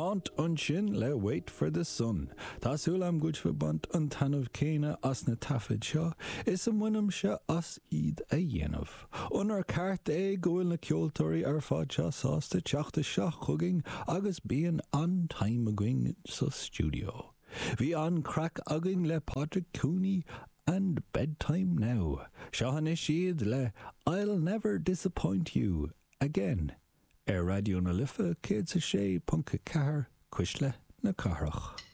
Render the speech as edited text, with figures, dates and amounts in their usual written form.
Haunt ansin le Wait for the Sun. Tá súil agam go bhfuil sibh ag baint an taitneamh céanna as na taifid seo is a mbainimse as iad a dhéanamh. Onóir ceart é go bhfuil na ceoltóirí ar fad seo sásta teacht isteach chugainn agus bíonn an-time againn sa stiúideo. Bhí an-craic againn le Padraig Cooney and Bedtime Now. Seo anois iad le I'll Never Disappoint You Again. Ar Raidió na Life 106.4 Cuisle na Cathrach.